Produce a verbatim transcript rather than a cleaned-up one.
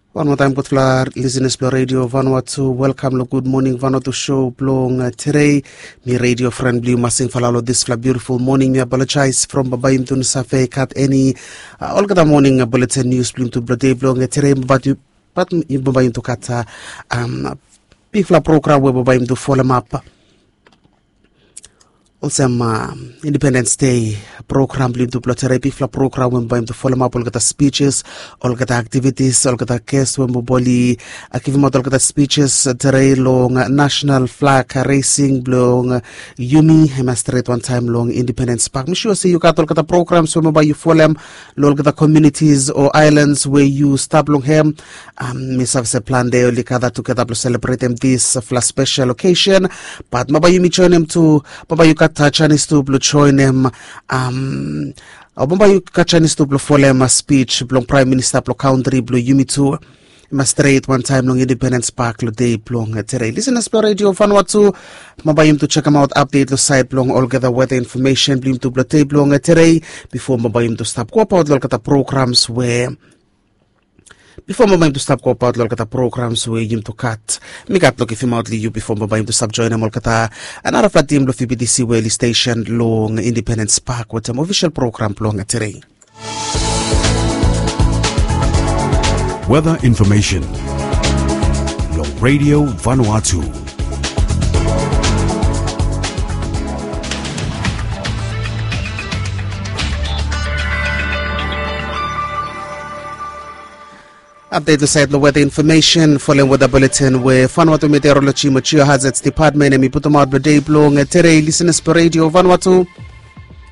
Wan moa taem gudfala lisenas blong redio Vanuatu, welkam long Gud Moning Vanuatu show blong tedei. Mi redio fren blong yu Masing Falalo, disfala biutiful moning mi apolojaes from bambae yumi tu no save gat eni olgeta moning buletin nius blong yumi tu blong dei blong tedei. Bat yu bat yu bambae yumi tu gat bigfala program we bambae yumi tu folemap olsem Independens Dei program blong yumi tu blong tedei. Bigfala program we bambae yumi tu folemap olgeta spijes, olgeta aktivitis, olgeta ges we bambae oli givimaot olgeta spijes tedei long nasenal flag resing blong yumi hem ya stret wantaem long Independens Pak. Mi sua se yu gat olgeta programs we bambae yu folem long olgeta komunitis o aelans we yu stap long hem. Mi save se plante oli gata tugeta blong selebretem disfala spesel okesen. Bat bambae yumi joenem tu, bambae yu gat janis tu blong joenem o bambae yu gat janis tu blong folem spij blong praem minista blong kantri blong yumi tu. Hem ya stret wantaem long Independens Pak long dei blong tedei. Lisenas blong redio Vanuatu, bambae yumi tu jekemaot apdet long saed blong olgeta weta infomesen blong yumi tu blong dei blong tedei bifo bambae yumi tu stap goabaot long olgeta programs we bifo bambae yumi tu stap goabaot long olgeta programs we yumi tu gat. Mi gat long givimaot long yu bifo bambae yumi tu stap joenem olgeta narafala tim blong V B T C we oli stesen long Independens Pak wetem ofisel program blong tedei. Weather information long Radio Vanuatu. Apdet long saed long weta infomesen folem weta buletin we Vanuatu Meteoroloji mo Geohazards Dipatmen hem i putumaot blong dei blong tedei. Lisenas blong redio Vanuatu,